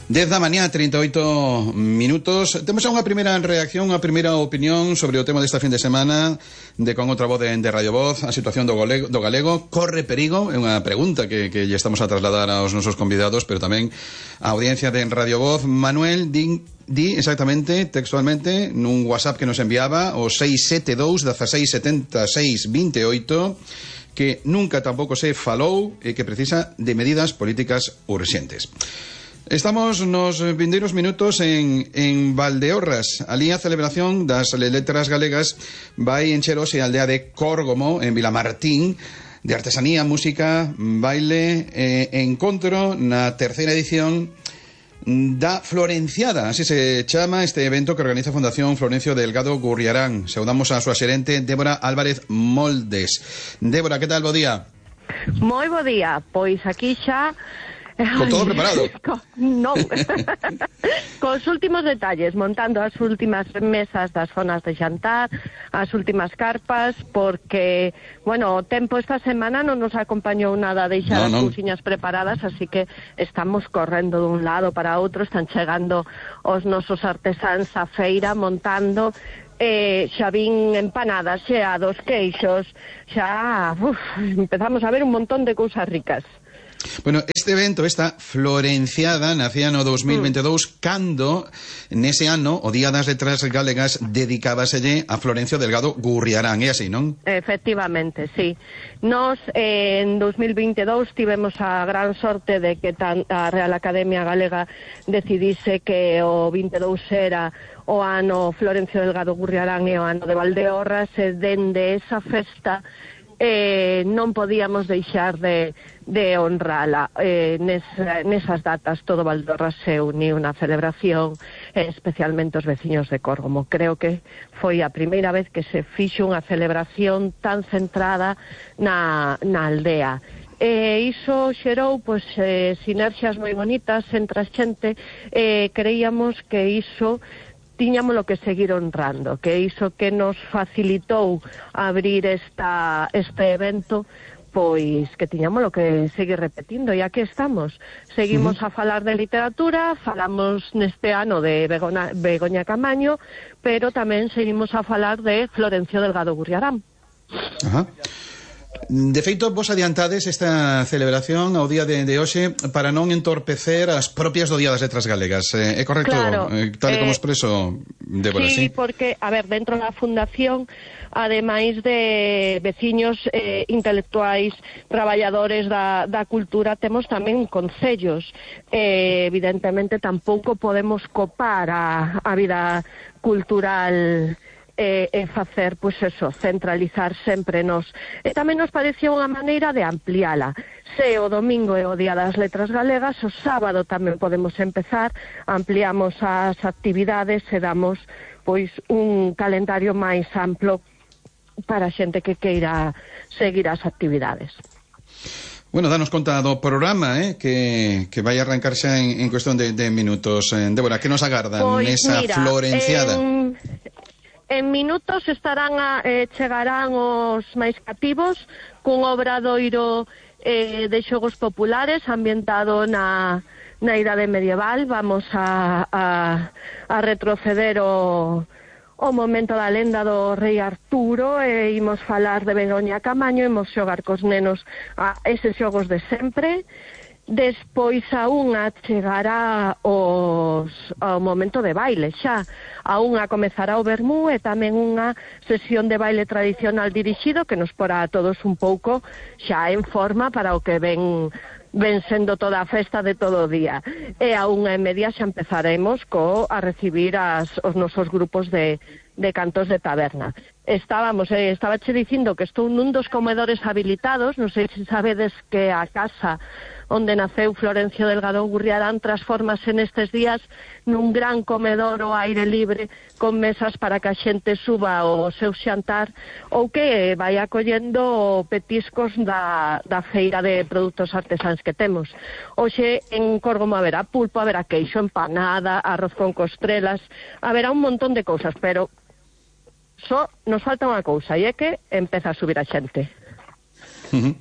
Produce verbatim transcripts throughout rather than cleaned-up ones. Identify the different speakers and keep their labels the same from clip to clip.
Speaker 1: dez da mañá, trinta e oito minutos. Temos unha primeira reacción, unha primeira opinión sobre o tema desta fin de semana de Con outra voz de, de Radio Voz, a situación do galego, do galego. Corre perigo? É unha pregunta que, que lle estamos a trasladar aos nosos convidados, pero tamén a audiencia de Radio Voz. Manuel, di, di exactamente, textualmente, nun WhatsApp que nos enviaba o seis sete dous, dezasseis setenta e seis veintioito, que nunca tampouco se falou e que precisa de medidas políticas urxentes. Estamos nos vindeiros minutos en, en Valdeorras. Alí a celebración das letras galegas vai encher hoxe a aldea de Córgomo, en Vilamartín, de artesanía, música, baile e encontro na terceira edición da Florenciada, así se chama este evento que organiza a Fundación Florencio Delgado Gurriarán. Saudamos a súa xerente Débora Álvarez Moldes. Débora, que tal, bo día?
Speaker 2: Moi bo día, pois aquí xa
Speaker 1: con todo preparado.
Speaker 2: Non. Cos últimos detalles, montando as últimas mesas das zonas de xantar, as últimas carpas, porque, bueno, o tempo esta semana non nos acompañou nada a deixar no, as no. cousiñas preparadas, así que estamos correndo dun lado para outro, están chegando os nosos artesáns á feira, montando eh, xa vin empanadas, xeados, queixos, xa uf, empezamos a ver un montón de cousas ricas.
Speaker 1: Bueno, este evento, esta Florenciada, nacía no dos mil veintidous, mm. cando, nese ano, o Día das Letras Galegas dedicábaselle a Florencio Delgado Gurriarán, é así, non?
Speaker 2: Efectivamente, sí. Nos, eh, en dos mil veintidous, tivemos a gran sorte de que tan, a Real Academia Galega decidise que o veintidous era o ano Florencio Delgado Gurriarán e o ano de Valdeorras, e dende esa festa Eh, non podíamos deixar de, de honrala. Eh, nes, nesas datas todo Valdeorras se uniu na celebración, eh, especialmente os veciños de Córgomo. Creo que foi a primeira vez que se fixo unha celebración tan centrada na, na aldea. E iso xerou pois, eh, sinerxias moi bonitas entre a xente. Eh, creíamos que iso tiñámolo que seguir honrando, que iso que nos facilitou abrir esta, este evento, pois que tiñámolo que seguir repetindo, e aquí estamos. Seguimos uh-huh. a falar de literatura, falamos neste ano de Begoña, Begoña Camaño, pero tamén seguimos a falar de Florencio Delgado Gurriarán.
Speaker 1: Ajá. De feito, vos adiantades esta celebración ao día de, de hoxe para non entorpecer as propias do Día das Letras Galegas. Eh, é correcto?
Speaker 2: Claro,
Speaker 1: eh, tal e como
Speaker 2: eh,
Speaker 1: expreso, Débora, sí?
Speaker 2: Sí, porque, a ver, dentro da Fundación, ademais de veciños eh, intelectuais, traballadores da, da cultura, temos tamén concellos. Eh, evidentemente, tampouco podemos copar a, a vida cultural e, e facer, pois eso, centralizar sempre nos. E tamén nos parecía unha maneira de ampliala. Se o domingo é o Día das Letras Galegas, o sábado tamén podemos empezar, ampliamos as actividades e damos, pois, un calendario máis amplo para a xente que queira seguir as actividades.
Speaker 1: Bueno, danos conta do programa, eh, que, que vai arrancar xa en, en cuestión de, de minutos. Eh, Débora, que nos agardan
Speaker 2: pois,
Speaker 1: nesa
Speaker 2: mira,
Speaker 1: Florenciada?
Speaker 2: En... En minutos estarán a, eh, chegarán os máis cativos cun obradoiro eh, de xogos populares ambientado na, na idade medieval. Vamos a, a, a retroceder o, o momento da lenda do rei Arturo e imos falar de Begoña Camaño, imos xogar cos nenos a eses xogos de sempre. Despois a unha chegará os, ao momento de baile, xa. A unha comezará o vermú e tamén unha sesión de baile tradicional dirixido que nos porá a todos un pouco xa en forma para o que ven, ven sendo toda a festa de todo o día. E a unha e media xa empezaremos co a recibir as, os nosos grupos de, de cantos de taberna. Estábamos, eh, estaba che dicindo que estou nun dos comedores habilitados, non sei se sabedes que a casa onde naceu Florencio Delgado Gurriarán transformase nestes días nun gran comedor ao aire libre con mesas para que a xente suba o seu xantar ou que vai acollendo petiscos da, da feira de produtos artesáns que temos. Hoxe en Córgomo haberá pulpo, haberá queixo, empanada, arroz con costrelas, haberá un montón de cousas, pero só nos falta unha cousa, e é que empeza a subir a xente.
Speaker 1: Uh-huh.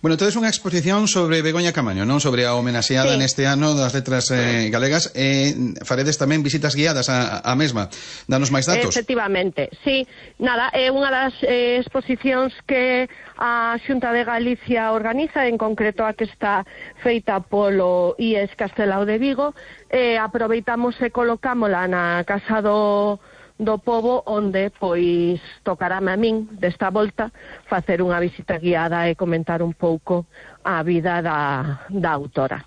Speaker 1: Bueno, entonces unha exposición sobre Begoña Camaño, non? Sobre a homenaxeada sí. neste ano das letras eh, galegas. Eh, faredes tamén visitas guiadas a, a mesma. Danos máis datos.
Speaker 2: Efectivamente, sí. Nada, é unha das eh, exposicións que a Xunta de Galicia organiza, en concreto a que está feita polo I E S Castelao de Vigo. Eh, aproveitamos e colocámola na Casa do do Pobo, onde, pois, tocarame a min, desta volta, facer unha visita guiada e comentar un pouco a vida da, da autora.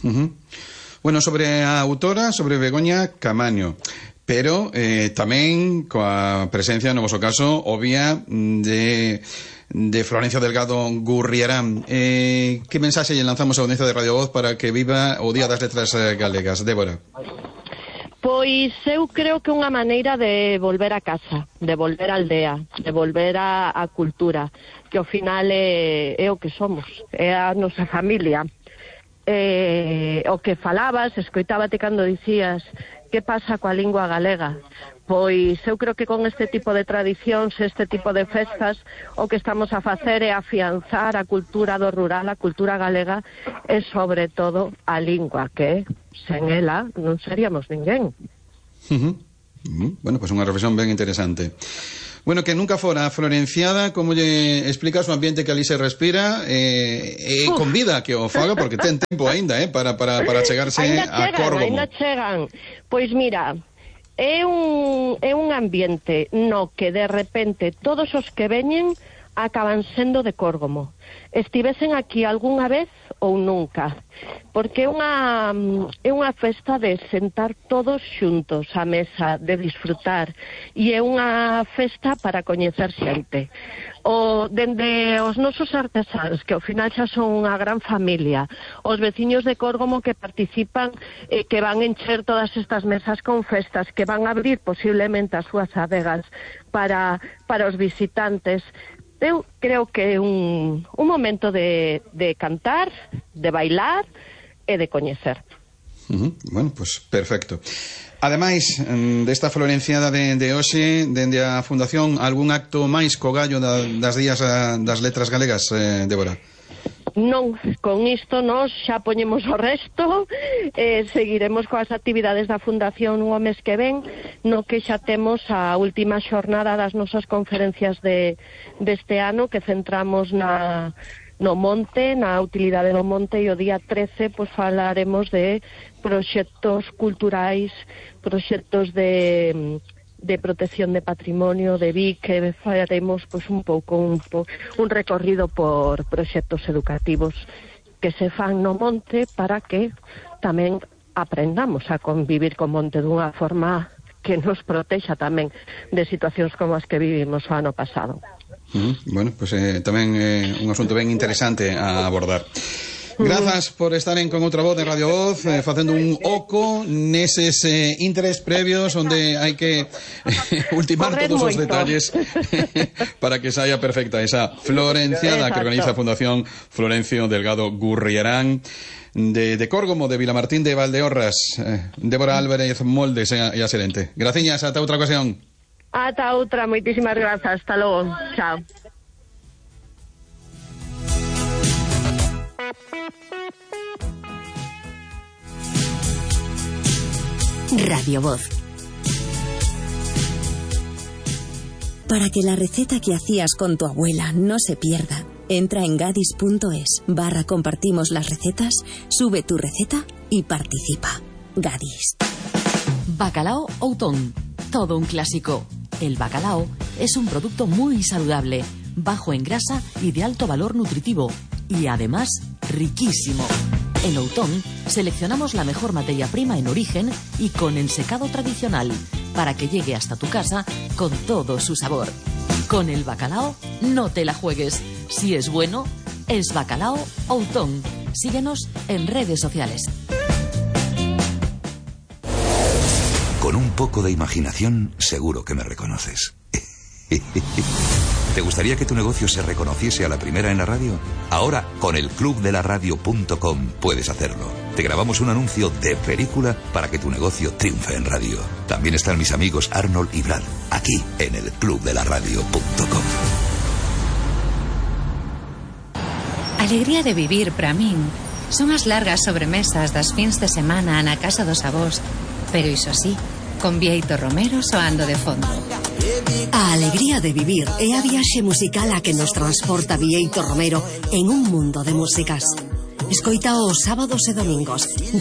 Speaker 1: Uh-huh. Bueno, sobre a autora, sobre Begoña Camaño, pero eh, tamén coa presencia, no voso caso, obvia, de, de Florencio Delgado Gurriarán. Eh, que mensaxe lle lanzamos a audiencia de Radio Voz para que viva o Día das Letras Galegas? Débora.
Speaker 2: Pois eu creo que unha maneira de volver a casa, de volver á aldea, de volver a, a cultura, que ao final é, é o que somos, é a nosa familia. Eh, o que falabas, escoitábate cando dicías que pasa coa lingua galega. Pois eu creo que con este tipo de tradicións, este tipo de festas, o que estamos a facer é afianzar a cultura do rural, a cultura galega, e sobre todo a lingua, que sen ela non seríamos ninguén.
Speaker 1: Uh-huh. Uh-huh. Bueno, pois pues unha reflexión ben interesante. Bueno, que nunca fora a Florenciada, como lle explicas o ambiente que ali se respira, eh, eh, convida que o faga, porque ten tempo aínda, eh, para, para, para chegarse
Speaker 2: ainda
Speaker 1: a
Speaker 2: chegan,
Speaker 1: Córgomo.
Speaker 2: Ainda chegan. Pois mira, é un, é un ambiente no que de repente todos os que veñen acaban sendo de Córgomo. Estivesen aquí algunha vez ou nunca, porque é unha, é unha festa de sentar todos xuntos á mesa, de disfrutar, e é unha festa para coñecer xente. O, dende os nosos artesáns, que ao final xa son unha gran familia, os veciños de Córgomo que participan, eh, que van encher todas estas mesas con festas, que van a abrir posiblemente as súas adegas para, para os visitantes. Eu creo que é un, un momento de, de cantar, de bailar e de coñecer.
Speaker 1: Uh-huh. Bueno, pues perfecto. Ademais desta Florenciada de, de hoxe, dende a Fundación, algún acto máis co gallo da, das días a, das letras galegas, eh, Débora?
Speaker 2: Non, con isto nos xa poñemos o resto, eh, seguiremos coas actividades da Fundación o mes que ven, no que xa temos a última xornada das nosas conferencias de deste ano, que centramos na no monte, na utilidade do monte, e o día trece pois falaremos de proxectos culturais, proxectos de de protección de patrimonio, de V I C, que faremos pois, un pouco un, un recorrido por proxectos educativos que se fan no monte para que tamén aprendamos a convivir co monte dunha forma que nos protexa tamén de situacións como as que vivimos o ano pasado.
Speaker 1: Mm, bueno, pues eh, tamén é eh, un asunto ben interesante a abordar. Grazas por estar en Con Outra Voz de Radio Voz, eh, facendo un oco neses eh, interés previos onde hai que eh, ultimar Correr todos moito. Os detalles para que saia perfecta esa Florenciada. Exacto. Que organiza a Fundación Florencio Delgado Gurriarán de, de Córgomo, de Vilamartín de Valdeorras. eh, Débora Álvarez Moldes e a, a xerente. Graciñas, ata outra ocasión.
Speaker 2: Ata outra, moitísimas grazas, hasta logo, chao.
Speaker 3: Radio Voz. Para que la receta que hacías con tu abuela no se pierda, entra en gadis punto es barra compartimos las recetas, sube tu receta y participa. Gadis.
Speaker 4: Bacalao Outón, todo un clásico. El bacalao es un producto muy saludable, bajo en grasa y de alto valor nutritivo, y además riquísimo. En Outón seleccionamos la mejor materia prima en origen y con ensecado tradicional para que llegue hasta tu casa con todo su sabor. Con el bacalao no te la juegues. Si es bueno, es Bacalao Outón. Síguenos en redes sociales.
Speaker 5: Con un poco de imaginación, seguro que me reconoces. ¿Te gustaría que tu negocio se reconociese a la primera en la radio? Ahora, con el club de la radio punto com puedes hacerlo. Te grabamos un anuncio de película para que tu negocio triunfe en radio. También están mis amigos Arnold y Brad, aquí en el club de la radio punto com.
Speaker 6: alegría de vivir para min son as largas sobremesas das fins de semana na casa dos avós, pero iso sí, con Bieito Romero soando de fondo.
Speaker 7: A alegría de vivir é a viaxe musical a que nos transporta Bieito Romero en un mundo de músicas. Escoita os sábados e domingos de